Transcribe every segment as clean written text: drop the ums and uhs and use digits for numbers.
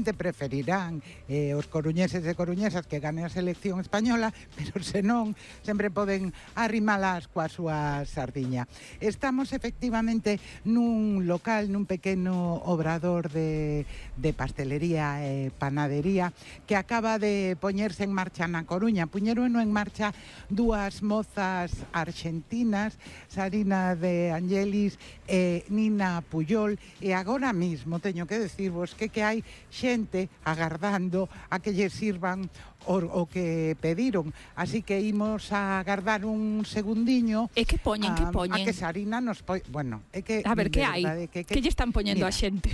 preferirán os coruñeses e coruñesas que gane a selección española, pero senón sempre poden arrimalas coa súa sardiña. Estamos efectivamente nun local, nun pequeno obrador de pastelería e panadería que acaba de poñerse en marcha na Coruña. Puñeron en marcha dúas mozas arxentinas, Sarina de Angelis e Nina Puyol, e agora mismo teño que decirvos que hai xente agardando a que lle sirvan o que pediron, así que imos a agardar un segundiño. E que poñen, que poñen? A que Sarina nos bueno, é que a ver, que hai? Que lle están poñendo a xente?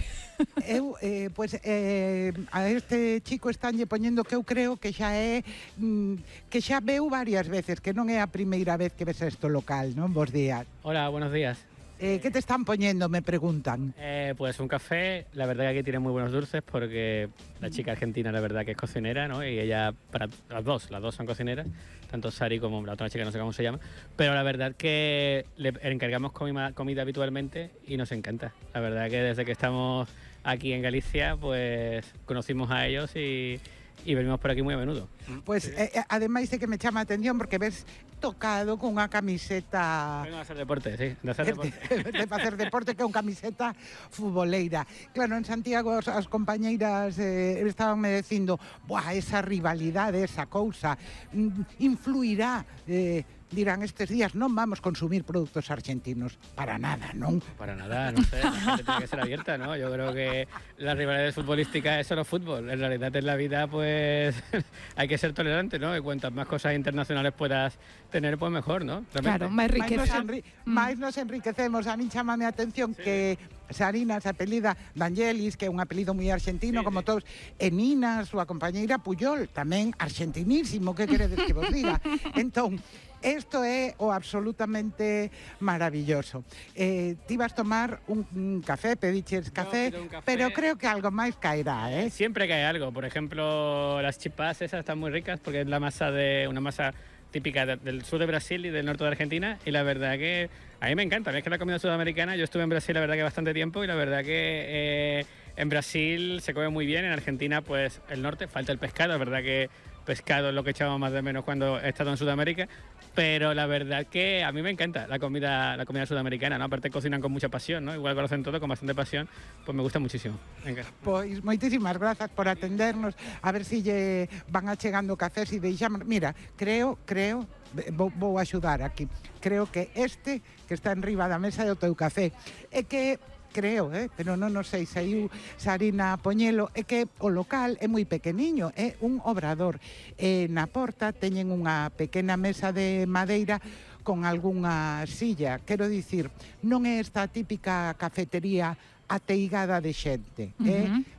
Eu, a este chico estánlle poñendo que eu creo que xa é que xa veu varias veces, que non é a primeira vez que ves este local, non? Bos días. Hola, buenos días. ¿Qué te están poniendo? Me preguntan. Pues un café, la verdad que aquí tiene muy buenos dulces porque la chica argentina la verdad que es cocinera, ¿no? Y ella, para las dos son cocineras, tanto Sari como la otra chica, no sé cómo se llama, pero la verdad que le encargamos comida habitualmente y nos encanta. La verdad que desde que estamos aquí en Galicia, pues conocimos a ellos y venimos por aquí muy a menudo. Pues ademais é que me chama a atención porque ves tocado con unha camiseta... Vengo a hacer deporte, sí, de hacer deporte. de facer deporte, que é unha camiseta futboleira. Claro, en Santiago as compañeiras estabanme dicindo, buah, esa rivalidade, esa cousa, influirá... dirán estes días non vamos consumir produtos argentinos. Para nada, non? Para nada, no sé, la gente tiene que ser abierta, ¿no? Yo creo que la rivalidad futbolística es solo fútbol. En realidad en la vida, pues, hay que ser tolerante, ¿no? Y cuantas más cosas internacionales puedas tener, pues mejor, ¿no? Realmente. Claro, máis riqueza. Mais nos enriquecemos. A mí chámame a atención que Sarina se apelida D'Angelis, que é un apelido moi argentino, como todos, e Nina, súa compañeira Puyol, tamén argentinísimo, que queredes que vos diga? Entón, isto é o absolutamente maravilloso. Ti vas tomar un café, pediches café, pero creo que algo máis caerá, ¿eh? Siempre cae algo. Por ejemplo, las chipas esas están muy ricas porque es una masa típica del sur de Brasil y del norte de Argentina, y la verdad que a mí me encanta. Es que la comida sudamericana, yo estuve en Brasil la verdad que bastante tiempo, y la verdad que en Brasil se come muy bien, en Argentina pues el norte falta el pescado, es verdad que pescado es lo que echamos más de menos cuando he estado en Sudamérica, pero la verdad que a mí me encanta la comida sudamericana, ¿no? Aparte cocinan con mucha pasión, ¿no? Igual que lo hacen todo con bastante pasión, pues me gusta muchísimo. Venga. Pois moitísimas grazas por atendernos, a ver si lle van achegando cafés e deixamos. Mira, creo, vou axudar aquí, creo que este que está en riba da mesa é o teu café, é que creo, pero non sei se aí Sarina Poñelo, é que o local é moi pequeniño, é un obrador. Na porta teñen unha pequena mesa de madeira con algunha silla. Quero dicir, non é esta típica cafetería ateigada de xente,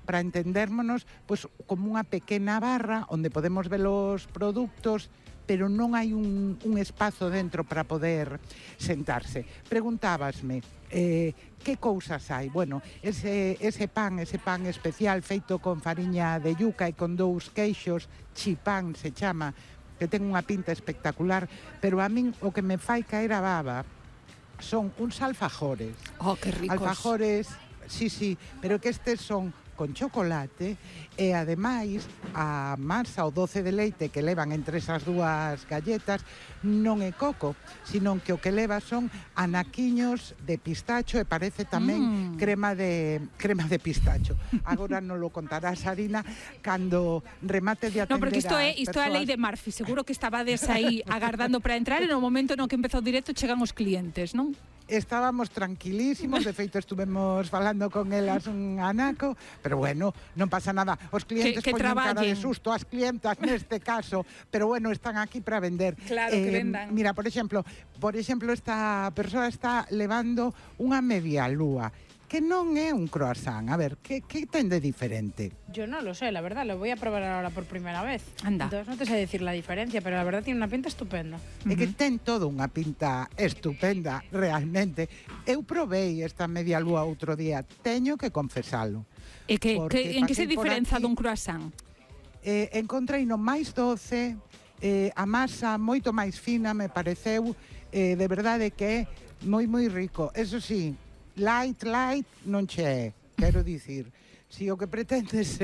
para entendérmonos, pois como unha pequena barra onde podemos ver os produtos, pero non hai un espazo dentro para poder sentarse. Preguntábasme, que cousas hai? Bueno, ese pan especial feito con fariña de yuca e con dous queixos, chipán se chama, que ten unha pinta espectacular, pero a min o que me fai caer a baba son uns alfajores. Oh, que ricos. Alfajores, sí, pero que estes son con chocolate e ademais a masa o doce de leite que levan entre esas dúas galletas non é coco, sino que o que leva son anaquiños de pistacho e parece tamén crema de pistacho. Agora non lo contará Sarina cando remate de atender. No, porque isto é a lei de Murphy, seguro que estabades aí agardando para entrar e no momento no que empezou o directo chegan os clientes, non? Estábamos tranquilísimos, de feito estuvemos falando con elas un anaco, pero bueno, non pasa nada. Os clientes que poñen cara de traballen. susto, as clientas neste caso, pero bueno, están aquí para vender. Claro, que vendan. Mira, por exemplo, esta persoa está levando unha media lúa, que non é un croissant. A ver, que ten de diferente? Yo no lo sé, la verdad, lo voy a probar ahora por primera vez. Anda. Entonces no te sé decir la diferencia, pero la verdad tiene una pinta estupenda. É que ten todo unha pinta estupenda, realmente. Eu probei esta media lúa outro día, teño que confesalo. E en que se diferenza dun croissant? Encontrei no máis doce, a masa moito máis fina, me pareceu, de verdade que é moi rico. Eso sí, light non che é, quero dicir, Si o que pretendes